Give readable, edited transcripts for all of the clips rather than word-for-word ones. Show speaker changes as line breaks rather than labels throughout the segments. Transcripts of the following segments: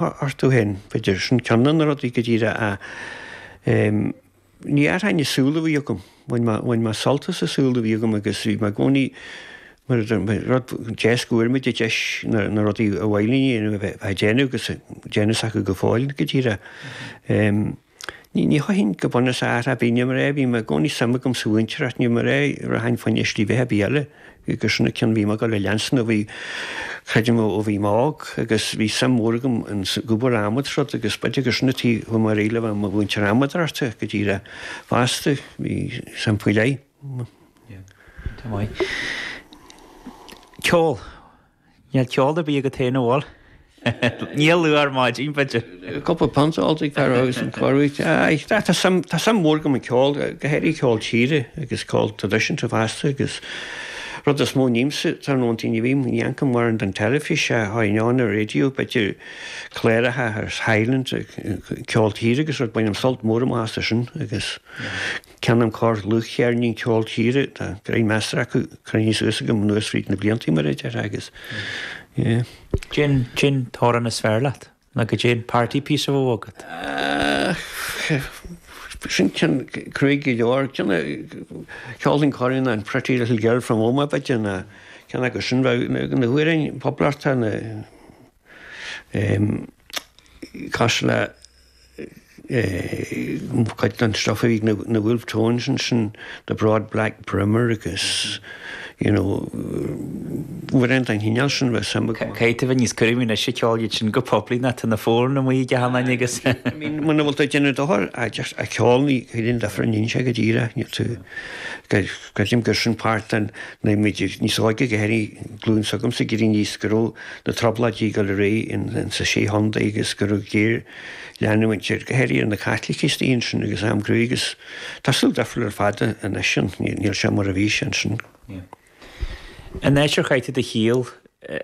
orthu féin, b'fhéidir. Sin ceann de na rudaí go díreach a ní athrainn an saol a bhí agam. Bhain mé, bhain mé sult as an saol a bhí agam agus bhí mé i gcónaí mar rud deas go bhfuair muid an deis na, na rudaí a mhaith linn a dhéanamh a bheith ag déanamh agus déanamh s'acu go fóill go díreach. Ní, ní chaithfinn go bunúsach athrá ar bith, ní mar é, bhí mé i gcónaí suim agam sa mhúinteoireacht, ní mar é, rachainn fá choinne slí bheatha ar bith eile, agus sin an ceann bhí mé ag dul a leanstan ó bhí, creidim ó bhí mé óg agus bhí suim mhór agam ins obair adhmaid is rud agus b'fhéidir gur sin an tuige chuaigh mé ar aghaidh le bheith i mo mhúinteoir adhmadóireachta go díreach fosta, bhí suim faoi leith.
Yeah, tá maith. Ceol. Níl ceol ar bith agat féin, an bhfuil? Níl luath ar maidin, b'fhéidir.
Cúpla punt ólta ag fear agus an corruair. Aye, tá suim, tá suim mhór agam i gceol, go háirithe ceol tíre agus ceol traidisiúnta fosta agus rud is mó nímsa, tá an t-aon ní bhím, ní amharcaim mórán don teilifís, tháin ann ar raidió, b'fhéidir cláracha ar Highland, ceol tíre agus rud, bainim sult mór amach as sin agus. Ceannaím corr dlúthcheirnín ceol tíre, tá greim measartha acu cruinnithe suas agam anuas fríd na blianta mar a déarfá agus
yeah. Cén, cén t-amhrán is fearr leat? Nó goidé an party piece a bheadh agat?
Sin ceann cruaidh go leor. Ceann a cheolfainn corruair ná an Pretty Little Girl from Omagh b'fhéidir ná ceann acu sin bheadh na hamhráin poblachta na cosúil le cuid den stuff a bhí ag na Wolfe Tones ansin, The Broad Black Brimmer agus you know amhráin den chineál sin bheadh suim
agam. Caithfidh tú bheith níos cúramaí anois ag ceol iad sin go poiblí ná tá na fóin amuigh ag achan duine agus.
I mean muna bhfuil tú ag déanamh dochar just a ceol ní chuireann difear an inse go díreach níl tú creidim gur sin páirt den nuair muid níos óige go háirithe glúin s'agamsa ag éirí aníos go raibh na trioblóidí ag dul ar aghaidh in sa sé chontae agus go raibh géar leanúint ar, go háirithe ar na Caitlicigh istigh ansin agus am cruaidh agus tá saol difriúil ar fad anois ann, níl sé mar a bhí sé ansin.
An áit ar chaith tú do shaol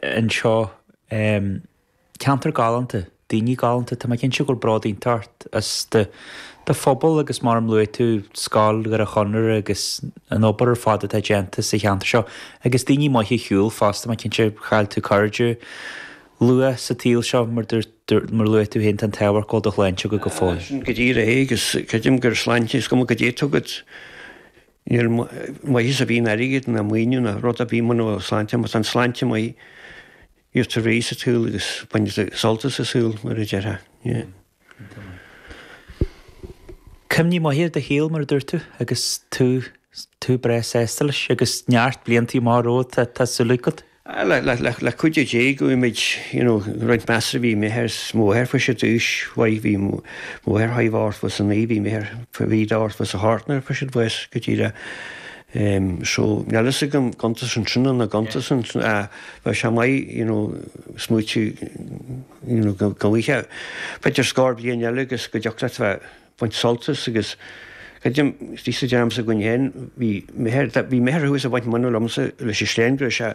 anseo, ceantar galánta, daoine galánta, tá mé cinnte go bhfuil bród iontach ort as do phobal agus mar a luaigh tú, Scoil Dhoire Chonaire agus an obair ar fad atá déanta sa cheantar seo agus daoine maithe ar shiúl fosta, mé cinnte, chaill tú cairde luath sa tsaol seo mar dúirt Mar a luaigh tú féin, tá an t-ádh ort go bhfuil do shláinte agat go fóill.
Sin go díreach é agus creidim gur sláinte, is cuma goidé atá agat, níl maitheas ar bith in airgead ná maoiniú ná rud ar bith muna bhfuil sláinte, má tá an sláinte maith, gheobhaidh tú réidh sa tsaol agus bainfidh tú sult as an saol, mar a déarfá. Yeah.
Cuimhní maithe ar do shaol, mar a dúirt tú, agus tú, tú breá sásta leis agus neart blianta amach romhat, tá súil agat.
Le cuidiú Dé go mbeidh muid, you know, roinnt measartha bhí m'athair is mo mháthair fuair siad aois mhaith, bhí mo mháthair thar 89, bhí m'athair, bhí 88 nuair a fuair siad bás go díreach. So níl fhios agam cuntas ansin nó cuntas ansin ach bheadh sé maith, you know, smaoitiú, you know, go bhfaighfeá b'fhéidir scór bliain eile agus go dtiocfadh leat bheith baint sult as agus creidim, istigh sa dream s'againn féin, bhí m'athair, bhí m'athair thuas ag baint móna liomsa leis an sléan go raibh sé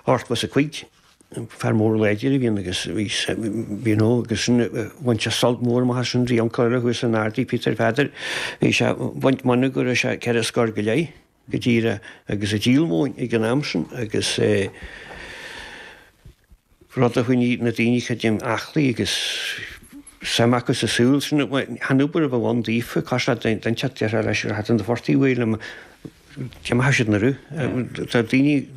85, fear mór láidir a bhí ann agus bhí, you know, agus sin, bhain sé sult mór amach as sin, bhí uncail eile thuas in Ardaí, Peter Pheadair, bhí sé ag baint móna go raibh sé ceithre scór go leith go díreach agus ag díol móin ag an am sin agus eh, rud a choinnigh na daoine creidim aclaí agus suim acu sa saol sin. Chan obair a bheadh ann daofa, cosúil le duine inteacht déarfá leis gur thaitin do phortaigh uaidh liom, d'imeodh siad na rith. Tá daoine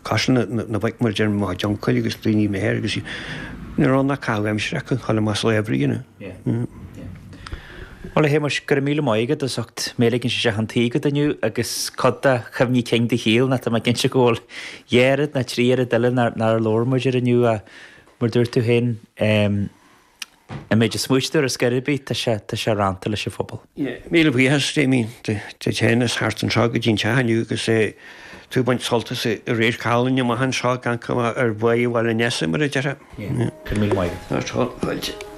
cosúil na boic mar a deir mo chuid uncail agus daoine m'athair agus ní raibh ann ach caitheamh aimsire acu, chuile más lá oibre, you know.
Bhuel, a Shéamuis, go raibh míle maith agat as ucht mé a ligint isteach chun tí agat inniu agus cuid de chuimhní cinn do shaoil, nó tá mé cinnte go bhfuil dhá oiread nó trí oiread eile nár labhair muid air inniu ach mar dúirt tú féin, an méid a smaoitigh tú ar scor ar bith, tá sé, tá sé rannta leis an phobal.
Míle buíochas, Damien, duit féin as theacht anseo go dtí an teach inniu agus tú ag baint sult as an radharc álainn amach anseo gan cuma ar Bháigh Bhaile Nessa, mar a déarfá.
Go raibh míle maith agat.
Fáilte.